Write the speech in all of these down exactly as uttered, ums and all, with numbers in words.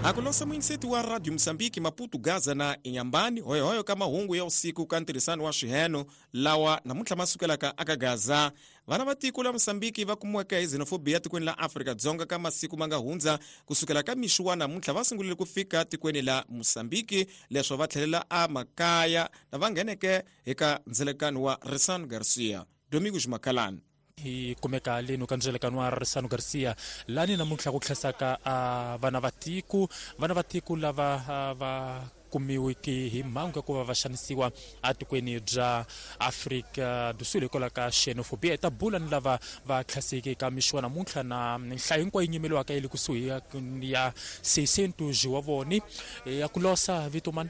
Akulosa muinseti wa Radio Mozambique Maputo Gaza na Inhambane hoyohoyo ka mahungu ya usiku ka ntirhisano wa swiheno lawa namuntlha ma sukelaka aka Gaza. Vana va tiko la Mozambique va kumiweke hi xenophobia tikweni la Afrika-Dzonga ka masiku ma nga hundza kusukela ka mixo wa namuntlha va sungulile ku fika tikweni la Mozambique leswo va tlhelela emakaya na va ngheneke eka ndzelekano wa Ressano Garcia. Domingos Makalani. Hi kumeka leno ka ndzelekano wa Ressano Garcia lani namuntlha ku tlhasaka a vana va tiko vana va tiko lava va kumiweke hi mhangu ya ku va va xanisiwa etikweni bya Afrika do Sul hikwalaho ka xenophobia. Hi ta bula ni lava va tlhaseke ka mixo wa namuntlha na nhlayo hinkwayo yi nyimeliwaka yi le kusuhi ya seishentos wa voni ya ku losa vito mani.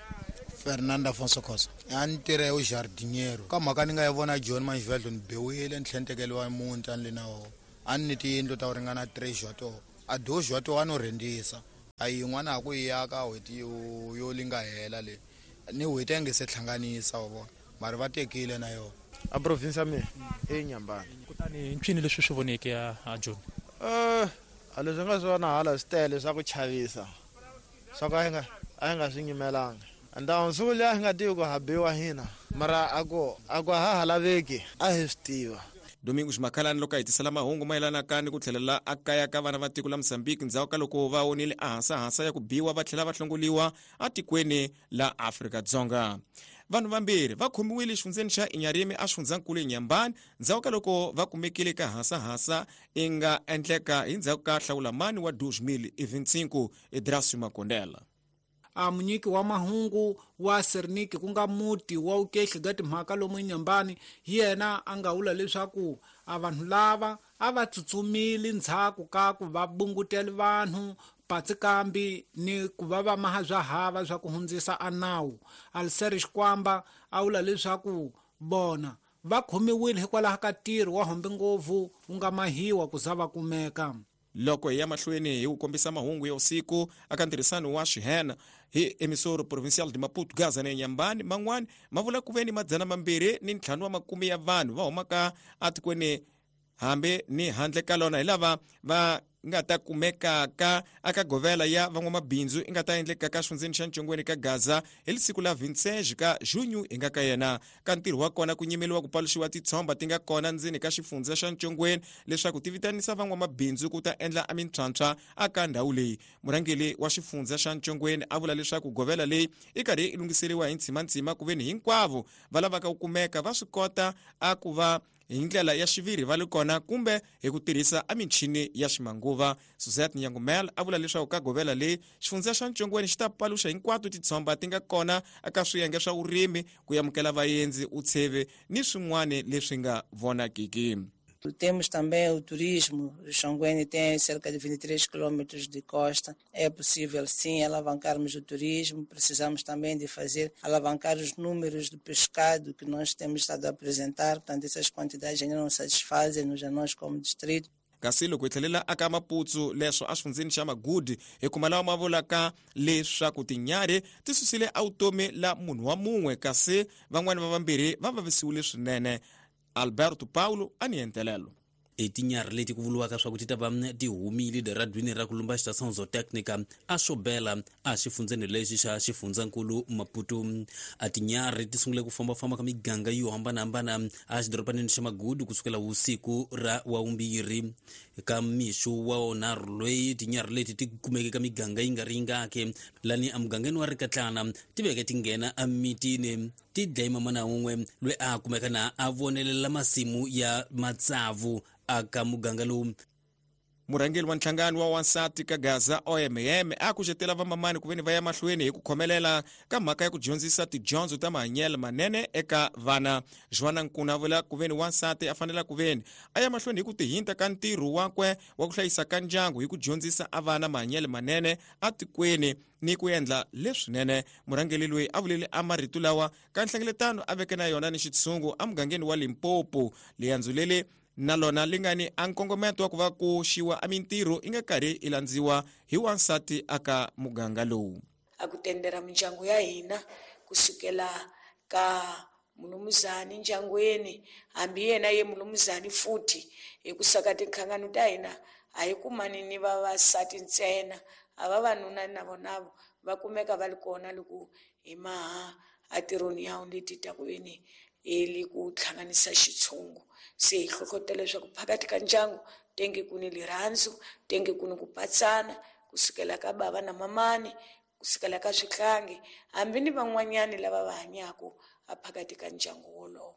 Fernando Afonso Khosa. A ni tirha hi jardiniero. Ka mhaka ni nga yi vona John Manjivelo ni biwile ni tlhela ni tekeriwa muti a ni le na wona. A ni ni tiyindlu ta ku ringana three wa toho. A dois wa toho a no rhentisa. A yin'wana a ku yi aka n'hweti yo yo li nga hela leyi. Ni n'hweti a nge se hlanganisa wa vona. Mara va tekile na yona. A province ya mina i Inhambane. Kutani ncini leswi swi voneke a John? Eh, a leswi nga swi vona hala swi tele swa ku chavisa. Swa ku a hi nga a hi nga swi nyimelanga. Ndhawu siku liya hi nga tivi ku ha biwa hina mara a ku a ku ha ha laveki a hi swi tiva. Domingos Makalani loko a hetisela mahungu mayelanaka ni ku tlhelela ekaya ka vana va tiko la Mozambique ndzhaku ka loko va onile ahasahasa ya ku biwa va tlhela va hlongoliwa etikweni la Afrika-Dzonga. Vanhu vambirhi va khomiwile exifundzeni xa Inharime exifundzhankulu Inhambane ndzhaku ka loko va kumekile ka hasahasa i nga endleka hi ndzhaku ka hlawulamani wa dois mil e vinte e cinco Edrasio Makondela. A munyiki wa mahungu wa Serniki ku nga muti wa ukehli ga timhaka lomu Inhambane hi yena a nga vula leswaku a vanhu lava a va tsutsumile ndzhaku ka ku va bungutela vanhu patsikambi ni ku va va maha swa hava swa ku hundzisa a nawu. Alser Xikwamba a vula leswaku vona va khomiwile hikwalaho ka ntirho wa hombe ngopfu wu nga mahiwa ku za va kumeka. Loko hi ya mahlweni hi ku kombisa mahungu ya usiku aka ntirhisano wa xihena hi emissoro provincial de Maputo Gaza na Inhambane man'wani ma vula ku ve ni madzana mambirhi ni ntlhanu wa makume ya vanhu va humaka etikweni hambi ni handle ka lona hi lava va nga ta kumekaka aka govela ya van'wamabindzu i nga ta endleka ka xifundzeni xa Ntshongweni ka Gaza hi siku la vinte e seis ka junho hi nga ka yena. Ka ntirho wa kona ku nyimeliwa ku paluxiwa titshomba ti nga kona ndzeni ka xifundza xa Ntshongweni leswaku ti vitanisa van'wamabindzu ku ta endla a mintlhantlha aka ndhawu leyi. Murhangeri wa xifundza xa Ntshongweni a vula leswaku govela leyi i karhi i lunghiseriwa hi ntsimantsima ku veni hinkwavo va lavaka ku kumeka va swi kota a ku va hi ndlela ya xiviri va le kona kumbe hi ku tirhisa a michini ya ximanguva. Suzette Nyangumel a vula leswaku ka govela leyi xifundza xa Ntshongweni xi ta paluxa hinkwato titshomba ti nga kona eka swiyenge swa vurimi ku amukela vaendzi utsheve ni swin'wana leswi nga vonakiki. Temos também o turismo. O Xongweni tem cerca de vinte e três quilômetros de costa. É possível, sim, alavancarmos o turismo. Precisamos também de fazer, alavancar os números do pescado que nós temos estado a apresentar. Portanto, essas quantidades ainda não satisfazem-nos a nós como distrito. Kasi loko hi tlhelela aka Maputo leswo exifundzeni xa Magudi hi kuma lawa ma vulaka leswaku tinyarhi ti susile evutomi la munhu wa mun'we kasi van'wani va vambirhi va vavisiwile swinene. Alberto Paulo a ni entelelo. E tinyarhi leti ku vuriwaka swa ku ti ta va ti humile eradwini ra ku lumba xitação zotécnica a xobela a xifundzeni lexi xa xifundzankulu Maputo. A tinyarhi ti sungule ku fambafamba ka miganga yo hambanahambana a xidorobanini xa Magudu kusukela vusiku ra wavumbirhi ka mixo wa wonharhu loyi tinyarhi leti ti kumeke ka miganga yi nga ri yingaki lani emugangeni wa Rikatlana ti veke ti nghena emitini ti dlaye mamana wun'we loyi a kumeka na a vonelela masimu ya matsavu aka muganga lowu. Murhangeri wa nhlangano wa wansati ka Gaza O M M a kucetela vamamani ku veni va ya mahlweni hi ku khomelela ka mhaka ya ku dyondzisa tidyondzo ta mahanyelo manene eka vana. Joana Nkuna a vula ku veni wansati a fanela ku veni a ya mahlweni hi ku tihinta ka ntirho wakwe wa ku hlayisa ka ndyangu hi ku dyondzisa a vana mahanyelo manene etikweni ni ku endla leswinene. Murhangeri loyi a vulele a marito lawa ka nhlengeletano a veke na yona ni xitshungu emugangeni wa Limpopo. Liyandzo leli na lona li nga ni a nkongometo wa ku va ku xiwa a mintirho i nga karhi i landziwa hi wansati aka muganga lowu. A ku tendera mindyangu ya hina kusukela ka mulumuzani ndyangwini hambi yena ye mulumuzani futhi hi ku saka tinhlangano ta hina a hi kumani ni vavasati ntsena A vavanuna na vonavo va kumeka va ri kona loko hi maha atirhoni ya leti ta ku veni eli ku hlanganisa xitshungu. Se hi hlohlotela leswaku phakathi ka ndyangu tenge ku ni lirhandzu, tenge ku ni ku patsana kusukela ka bava na mamani, kusukela ka swihlangi, hambi ni van'wanyani lava va hanyaka aphakathi ka ndyangu wolowo.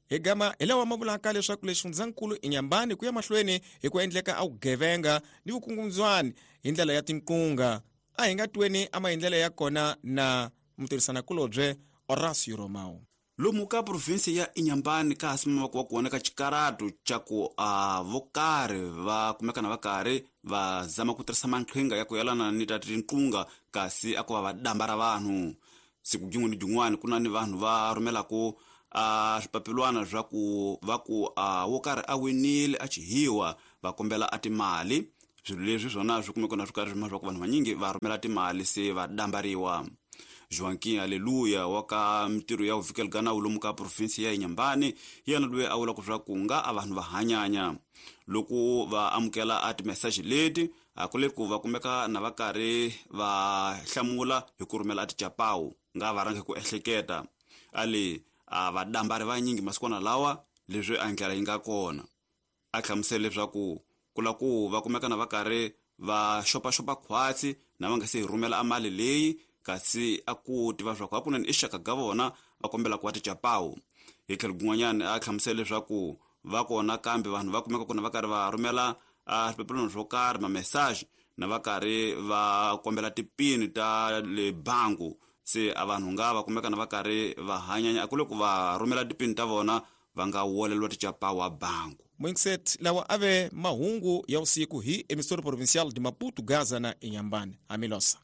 Hi gama hi lawa ma vulaka leswaku le xifundzankulu Inhambane ku ya mahlweni hi ku endleka a vugevenga ni vukungundzwani hi ndlela ya tinkunga. A hi nga tweni ama hi ndlela ya kona na mutirhisanakulobye Horacio Romao. Lomu ka provinsi ya Inhambane ka ha wa kona ka xikaratu xa ku a vokarhi va kumeka na vakarhi va zama ku tirhisa maqhinga ya ku yelana ni ta tinqunga kasi a ku va va damba ra vanhu. Siku jin'we ni jin'wana ku na ni vanhu va rhumelaku a swipapilwana swa ku va ku a wo karhi a winile a chihiwa va kombela a timali. Swilo leswi swona swi kumeka na swi karhi swi ku vanhu vanyingi va rhumela timali se va dambariwa. Joaquim Aleluia wa ka mintirho ya vuvikeli nawu lomu ka provinsi ya Inhambane yena loyi a vulaka swa ku nga a vanhu va hanyanya loko va amukela a timeseji leti a ku le ku va kumeka na va karhi va hlamula hi ku rhumela a tichapawu nga va rhangi ku ehleketa ali a va dambari vanyingi masikwana lawa leswi a ndlela yi nga kona. A hlamusela leswaku ku la ku va kumeka na va karhi va xopaxopa khwatsi na va nga se hi rhumela a mali leyi kasi a ku tiva swa ku hakunene i xaka ga vona va kombela ku va tichapawu. Hi tlhelo kun'wanyana a hlamusela leswaku va kona kambe vanhu va kumeka kona va karhi va rhumela a swipapilwana swo karhi ma-message na va karhi va kombela tipini ta le bangu se a vanhu nga va kumeka na va karhi va hanyanya a ku le ku va rhumela tipini ta vona va nga woleliwa tichapawu a bangu. Mwingiset lawa ave mahungu ya usiku hi emissora provincial de Maputo, Gaza na Inhambane. Amilosa.